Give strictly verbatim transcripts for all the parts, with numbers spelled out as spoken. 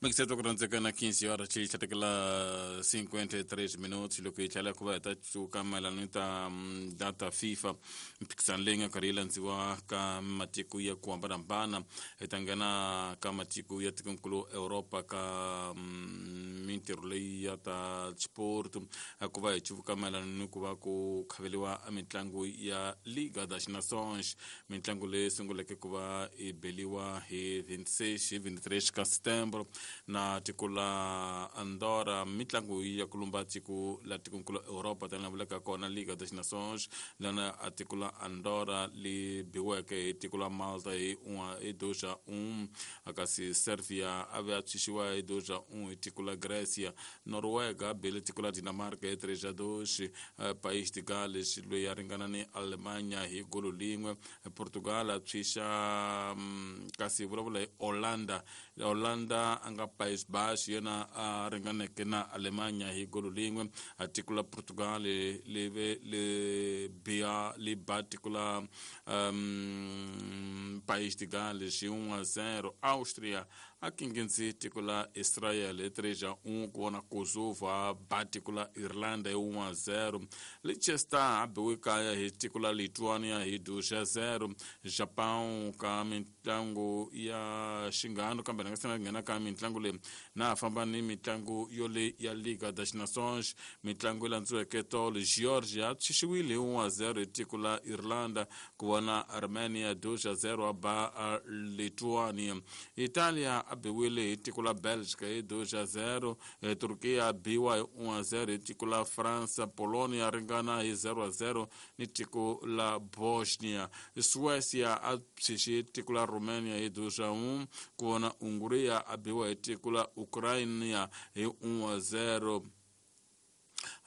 Mixeto ku quinze horas tlhatekela cinquenta e três minutos loko hi tlhela ku va hi ta tsuka mayelana ni ta data FIFA mphikizano leyi nga karhi yi landziwa ka matiko ya ku hambanahambana hi ta nghena ka matiko ya tikonkulu Europa ka mintirho leyi ya ta sport ku va hi cuvuka mayelana ni ku va ku khaveliwa mitlangu ya Liga das Nações mitlangu leyi sunguleke ku va yi beliwa hi vinte e seis hi vinte e três ka setembro na tiko la Andorra mitlangu ya ku lumba tiko la tikonkulu Europa tanihi vulaka kona Liga das Nações lana a tiko la Andorra li biweke hi tiko la Malta hi hi dois a um kasi Serbia a ve a tshunxiwa hi dois a um hi tiko la Grécia Noruega a bile tiko la Dinamarca hi três a dois País de Gales loyi a ringana ni Alemanha hi golo lin'we Portugal a tshunxa kasi vulavula hi Holanda Holanda a nga País Baixo yena a ringaneke na Alemanha hi golo lin'we a tiko la Portugal li ve li biha li ba tiko la um, País de Gales hi um a zero Austria a kinginzi tiko la Israel hi três a um ku vona Kosovo a ba tiko la Irlanda hi um a zero Liechtenstein a biwe kaya hi tiko la Lithuania hi dois a zero Japão ka mitlangu ya xinghano kambe na nga se nghena ka mitlangu leyi na ha famba ni mitlangu yole ya Liga das Nações mitlangu yi landziweke tolo Georgia a tshunxiwile hi um a zero hi tiko la Irlanda ku vona Armenia dois a zero a ba Lithuania Italia a biwile hi tiko la Belgica hi dois a zero Turkiya a biwa hi um a zero hi tiko la Fransa Polonia ringana hi zero a zero ni tiko la Bosnia Suecia a tshunxe tiko la Romania hi dois a um ku vona Hungria a biwa hi tiko la Ukrainia hi um a zero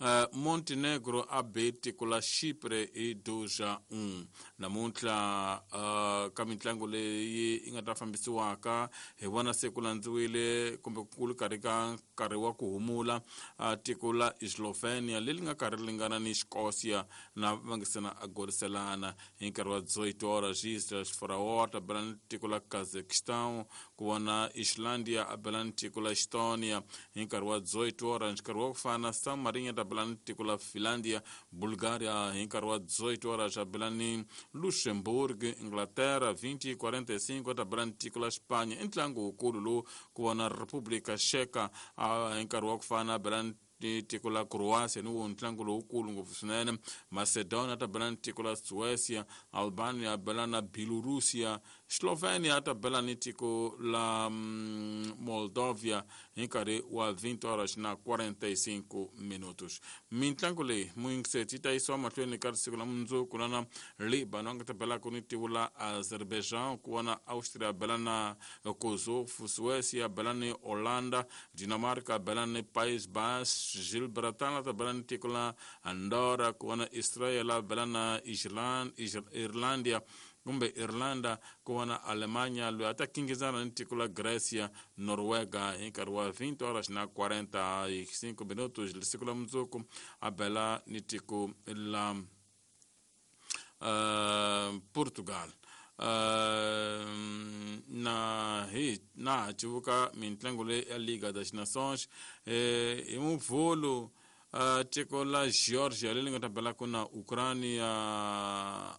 Uh, Montenegro a be tiko la Chipre hi dois a um namuntlha uh, ka mitlangu leyi yi nga ta fambisiwaka hi vona se ku landziwile kumbe ku ri karhi ka nkarhi wa ku humula uh, tiko la Slovenia leri nga karhi ri lingana ni Escócia na va nga se na a goriselana hi nkarhi wa dezoito horas Islas Faroe ta bela ni tiko la Kazakhstan ku vona Islandia a bela ni tiko la Estonia hi nkarhi wa dezoito horas nkarhi wa ku fana San Marino ta bela ni tiko la Finlandia Bulgaria hi nkarhi wa dezoito horas a bela ni Luxembourg Inglaterra vinte e quarenta e cinco ta bela ni tiko la Espanha i ntlangu wukulu lowu ku vona República Checa hi nkarhi wa ku fana a bela ni tiko la Croatia ni wo ntlangu lowukulu ngopfu swinene Macedonia ta bela ni tiko la Suecia Albania a bela na Bielorussia Slovenia ta bela ni tiko la mm, Moldovia hi nkarhi wa vinte horas na quarenta e cinco minutos mintlangu leyi muyingiseti yi ta yisiwa mahlweni ka siku la mundzuku lana Libano a nga ta belaka ni tiko la Azerbaijan ku vona Austria bela na Kosovo Suecia bela ni Holanda Dinamarca bela ni País Baixo Gibraltar ta bela ni tiko la Andorra ku vona Israel bela na Irlandia kumbe Irlanda ku vona Alemanha loyi a ta kingizana ni tiko la Grécia Noruega hi nkarhi wa vinte horas na quarenta e cinco minutos siku la mundzuku a bela ni tiko la uh, Portugal Uh, na hi na civuka mintlangu leyi ya Liga das Nações eh, hi muvhulu uh, tiko la Georgia leri nga ta belaka na Ukrainia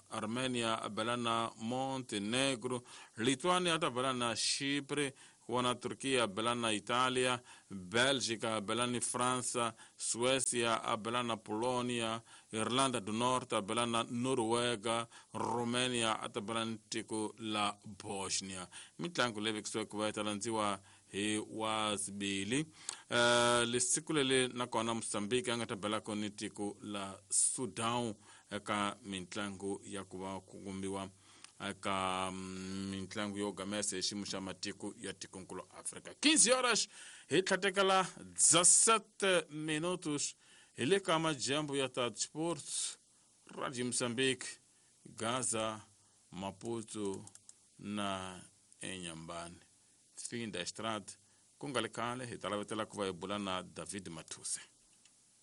Armenia a bela na Montenegro Lithuania ta bela na Chipre ku vona Turkiya a bela na Italia Belgica a bela ni Fransa Suecia a bela na Polonia Irlanda do Norte a bela na Noruega Romania a ta bela ni tiko la Bosnia mitlangu leyi vekisiweke ku va yi ta landziwa hi wa sibili uh, lesiku leli nakona Mozambique a nga ta belaka ni tiko la Sudan eka mitlangu ya ku va ku kumbiwa eka mitlangu yo gamesa hi xiyimo xa matiko ya tikonkulu Afrika quinze horas hi tlhatekela dezessete minutos hi le ka majambu ya ta Sports Radio Mozambique Gaza Maputo na Inhambane fim da estrada ku nga le khale hi ta lavetela ku va hi bula na David Mathuse.